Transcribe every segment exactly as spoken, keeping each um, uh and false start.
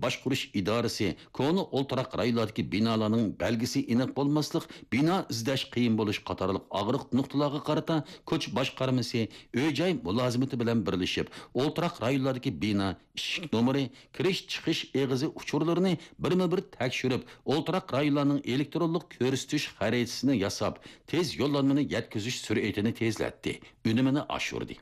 باشقۇرۇش ئىدارىسى، كونا ئولتۇراق رايونلاردىكى بىنالارنىڭ بەلگىسى ئېنىق بولماسلىق، بىنا ئىزدەش قىيىن بولۇش قاتارلىق ئاغرىق نۇقتىلارغا قارىتا كوچا باشقارمىسى، ئۆي-جاي مۇلازىمىتى بىلەن بىرلىشىپ، ئولتۇراق رايونلاردىكى بىنا، ئىشىك نومۇرى، كىرىش-چىقىش ئېغىزى ئۇچۇرلىرىنى بىرمۇ-بىر تەكشۈرۈپ، ئولتۇراق رايونلارنىڭ ئېلېكترونلۇق كۆرسىتىش خەرىتىسىنى ياساپ، تېز يوللانمىنى يەتكۈزۈش سۈرئىتىنى تېزلەتتى، ئۈنۈمىنى ئاشۇردى.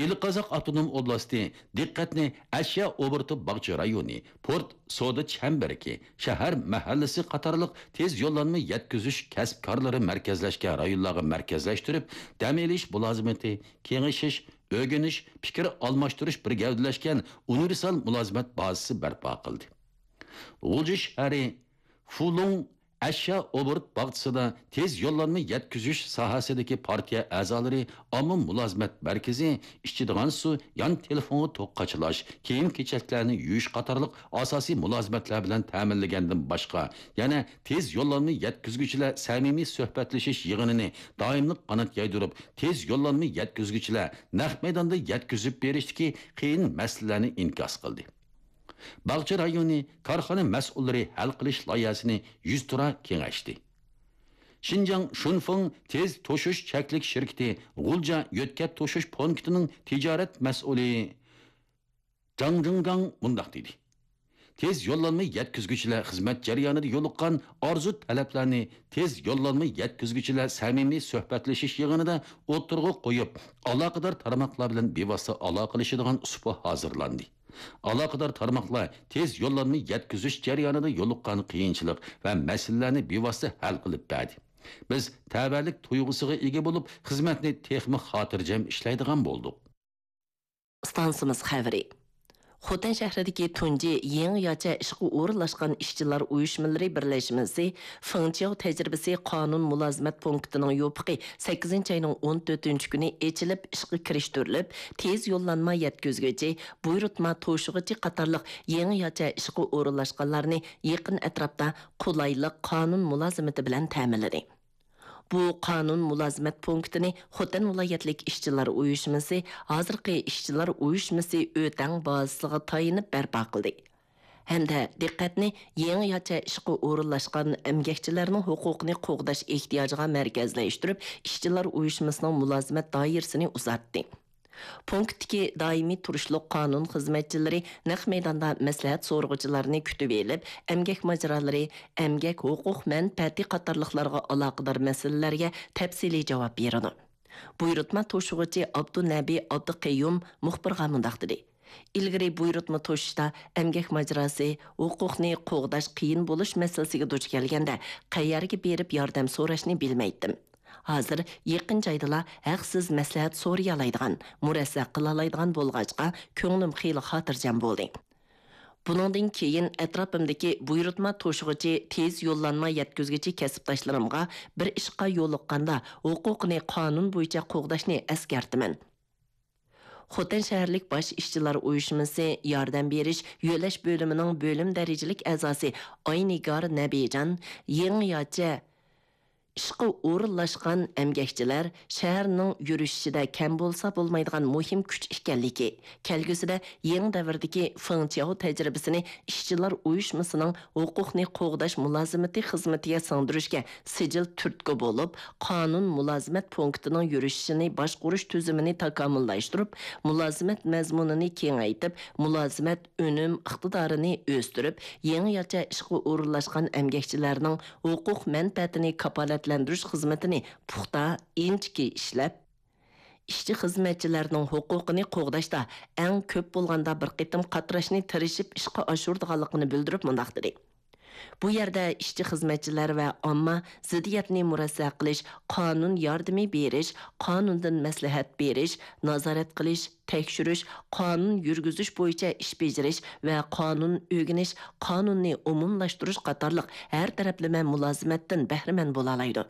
ئىلى قازاق ئاپتونوم ئوبلاستى دىققەتنى ئەشيا ئوبوروتى باغچە رايونى، پورت سودا چەمبىرىكى، شەھەر مەھەللىسى قاتارلىق تېز يوللانما يەتكۈزۈش كەسىپكارلىرى مەركەزلەشكەن رايونلارغا مەركەزلەشتۈرۈپ، دەم ئېلىش مۇلازىمىتى، كېڭىشىش، ئۆگىنىش، پىكىر ئالماشتۇرۇش بىر گەۋدىلەشكەن ئۇنىۋېرسال مۇلازىمەت بازىسى بەرپا قىلدى. غۇلجا شەھىرى فۇلۇڭ ئەشيا ئوبوروت باغچىسىدا تېز يوللانما يەتكۈزۈش ساھەسىدىكى پارتىيە ئەزالىرى ئامما مۇلازىمەت مەركىزى ئىچىدىغان سۇ، يان تېلېفونغا توك قاچىلاش، كىيىم-كېچەكلەرنى يۇيۇش قاتارلىق ئاساسىي مۇلازىمەتلەر بىلەن تەمىنلىگەندىن باشقا، يەنە تېز يوللانما يەتكۈزگۈچىلەر سەمىمىي سۆھبەتلىشىش يىغىنىنى دائىملىق قانات يايدۇرۇپ، تېز يوللانما يەتكۈزگۈچىلەر نەق مەيداندا يەتكۈزۈپ بېرىشتىكى قىيىن مەسىلىلەرنى ئىنكاس قىلدى. باغچە رايونى كارخانا مەسئۇللىرى ھەل قىلىش لايىھەسىنى يۈزتۇرا كېڭەشتى. شىنجاڭ شۇنفېڭ تېز توشۇش چەكلىك شىركىتى غۇلجا يۆتكەپ توشۇش پونكىتىنىڭ تىجارەت مەسئۇلى جاڭ جىڭگاڭ مۇنداق دېدى: تېز يوللانما يەتكۈزگۈچىلەر خىزمەت جەريانىدا يولۇققان ئارزۇ تەلەپلەرنى تېز يوللانما يەتكۈزگۈچىلەر سەمىمىي سۆھبەتلىشىش يىغىنىدا ئوتتۇرىغا قويۇپ، ئالاقىدار تارماقلار بىلەن بىۋاسىتە ئالاقىلىشىدىغان سۇپا ھازىرلاندى. ئالاقىدار تارماقلار تېز يوللانما يەتكۈزۈش جەريانىدا يولۇققان قىيىنچىلىق ۋە مەسىلىلەرنى بىۋاسىتە ھەل قىلىپ بەردى. بىز تەۋەلىك تۇيغۇسىغا ئىگە بولۇپ، خىزمەتنى تېخىمۇ خاتىرجەم ئىشلەيدىغان بولدۇق. ئىستانسىمىز خەۋىرى. خوتەن شەھىرىدىكى تۇنجى يېڭىچە ئىشقا ئورۇنلاشقان ئىشچىلار ئۇيۇشمىلىرى بىرلەشمىسى فېڭچياۋ تەجرىبىسى قانۇن مۇلازىمەت پونكىتىنىڭ يوپۇقى سەككىزىنچى ئاينىڭ ئون تۆتىنچى كۈنى ئېچىلىپ ئىشقا كىرىشتۈرۈلۈپ، تېز يوللانما يەتكۈزگۈچى، بۇيرۇتما توشۇغۇچى قاتارلىق يېڭىچە ئىشقا ئورۇنلاشقانلارنى يېقىن ئەتراپتا قولايلىق قانۇن مۇلازىمىتى بىلەن تەمىنلىدى. بۇ قانۇن مۇلازىمەت پونكىتىنى خوتەن ۋىلايەتلىك ئىشچىلار ئۇيۇشمىسى، ھازىرقى ئىشچىلار ئۇيۇشمىسى ئۆتەڭ بازىسىغا تايىنىپ بەرپا قىلدى. ھەمدە دىققەتنى يېڭىچە ئىشقا ئورۇنلاشقان ئەمگەكچىلەرنىڭ ھوقۇقىنى قوغداش ئېھتىياجىغا مەركەزلەشتۈرۈپ، ئىشچىلار ئۇيۇشمىسىنىڭ مۇلازىمەت دائىرىسىنى ئۇزارتتى. پونكىتتىكى دائىمىي تۇرۇشلۇق قانۇن خىزمەتچىلىرى نەق مەيداندا مەسلىھەت سورىغۇچىلارنى كۈتۈۋېلىپ، ئەمگەك ماجىرالىرى، ئەمگەك ھوقۇق مەنپەئەتى قاتارلىقلارغا ئالاقىدار مەسىلىلەرگە تەپسىلىي جاۋاب بېرىدۇ. بۇيرۇتما توشۇغۇچى ئابدۇنەبى ئابدۇقەييۇم مۇخبىرغا مۇنداق دېدى: ئىلگىرى بۇيرۇتما توشۇشتا ئەمگەك ماجىراسى، ھوقۇقنى قوغداش قىيىن بولۇش مەسىلىسىگە دۇچ كەلگەندە، قەيەرگە بېرىپ ياردەم سوراشنى بىلمەيتتىم. ھازىر يېقىن جايدىلا ھەقسىز مەسلىھەت سورىيالايدىغان، مۇرەسسە قىلالايدىغان بولغاچقا، كۆڭلۈم خېلى خاتىرجەم بولدى. بۇنىڭدىن كېيىن ئەتراپىمدىكى بۇيرۇتما توشۇغۇچى، تېز يوللانما يەتكۈزگۈچى كەسىپداشلىرىمغا بىر ئىشقا يولۇققاندا، ھوقۇقىنى قانۇن بويىچە قوغداشنى ئەسكەرتىمەن. خوتەن شەھەرلىك باش ئىشچىلار ئۇيۇشمىسى ياردەم بېرىش يۆلەش بۆلۈمىنىڭ بۆلۈم دەرىجىلىك ئەزاسى ئاينىگار نەبىجان يېڭىچە ئىشقا ئورۇنلاشقان ئەمگەكچىلەر شەھەرنىڭ يۈرۈشۈشىدە كەم بولسا بولمايدىغان مۇھىم كۈچ ئىكەنلىكى، كەلگۈسىدە يېڭى دەۋردىكى فېڭچياۋ تەجرىبىسىنى ئىشچىلار ئۇيۇشمىسىنىڭ ھوقۇقنى قوغداش مۇلازىمىتى خىزمىتىگە سىڭدۈرۈشكە سىجىل تۈرتكە بولۇپ، قانۇن مۇلازىمەت پونكىتىنىڭ يۈرۈشۈشىنى باشقۇرۇش تۈزۈمىنى تاكامۇللاشتۇرۇپ، مۇلازىمەت مەزمۇنىنى كېڭەيتىپ، مۇلازىمەت ئۈنۈم ئىقتىدارىنى ئۆستۈرۈپ، يېڭىچە ئىشقا ئورۇنلاشقان ئەمگەكچىلەرنىڭ ھوقۇق مەنپەئەتىنى كاپالەتلەندۈرۈش خىزمىتىنى پۇختا، ئىنچىكە ئىشلەپ، ئىشچى خىزمەتچىلەرنىڭ ھوقۇقىنى قوغداشتا ئەڭ كۆپ بولغاندا بىر قېتىم قاتراشنى تىرىشىپ ئىشقا ئاشۇرىدىغانلىقىنى بىلدۈرۈپ مۇنداق دېدى: بۇ يەردە ئىشچى خىزمەتچىلەر ۋە ئامما زىددىيەتنى مۇرەسسە قىلىش، قانۇن ياردىمى بېرىش، قانۇندىن مەسلىھەت بېرىش، نازارەت قىلىش، تەكشۈرۈش، قانۇن يۈرگۈزۈش بويىچە ئىش بېجىرىش ۋە قانۇن ئۆگىنىش، قانۇننى ئومۇملاشتۇرۇش قاتارلىق ھەر تەرەپلىمە مۇلازىمەتتىن بەھرىمەن بولالايدۇ.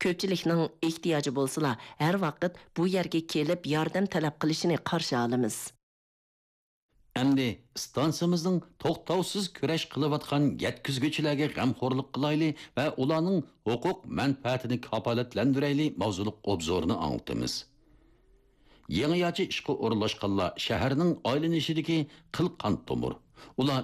كۆپچىلىكنىڭ ئېھتىياجى بولسىلا، ھەر ۋاقىت بۇ يەرگە كېلىپ ياردەم تەلەپ قىلىشىنى قارشى ئالىمىز. ئەمدى ئىستانسىمىزنىڭ توختاۋسىز كۈرەش قىلىۋاتقان يەتكۈزگۈچىلەرگە غەمخورلۇق قىلايلى ۋە ئۇلارنىڭ ھوقۇق مەنپەئەتىنى كاپالەتلەندۈرەيلى ماۋزۇلۇق ئوبزورنى ئاڭلىتىمىز. يېڭىچە ئىشقا ئورۇنلاشقانلار شەھەرنىڭ ئايلىنىشىدىكى قىل قان تومۇر. ئۇلار